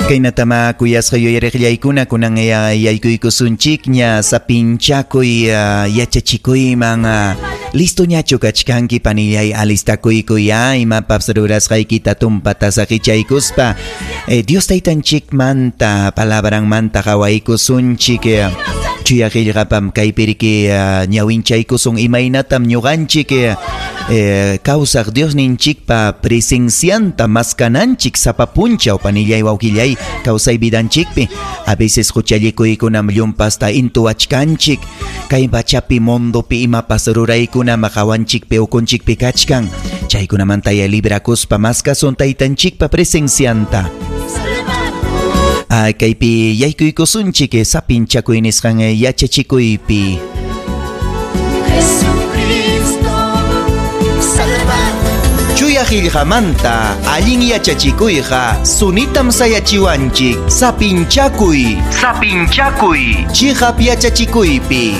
Kaynatama kuyasqa yuyariqllaykuna, kunan yaykuykusunchikña sapinchakuy yachachikuyman. Listoñachu kachkanki, panillay? Alistakuykuy imapas rurasqaykita tumpata saqichaykuspa. Dios Taytanchikmanta palabranmanta qawaykusunchik. Chuya qillqapam kaypiriki ñawinchaykusun imaynatam ñuqanchik kawsaq Diosninchikpa presencianta maskananchik sapa punchaw, panillay, wawqillay, kawsay vidanchikpi. A veces huchallikuykunam llumpasta intuwachkanchik, kay pachapi, mundopi imapas ruraykunam qawanchikpi, ukunchikpi kachkan. Chaykunamanta ya librakuspa maskasun Taytanchikpa presencianta. Kaypi yaykuykusunchik sapinchakuy nisqan yachachikuypi. Jesucristo Salvador. Chuya qillqamanta allin yachachikuyqa sunitam sayachiwanchik. Sapinchakuy. Sapinchakuy. Chiqap yachachikuypi.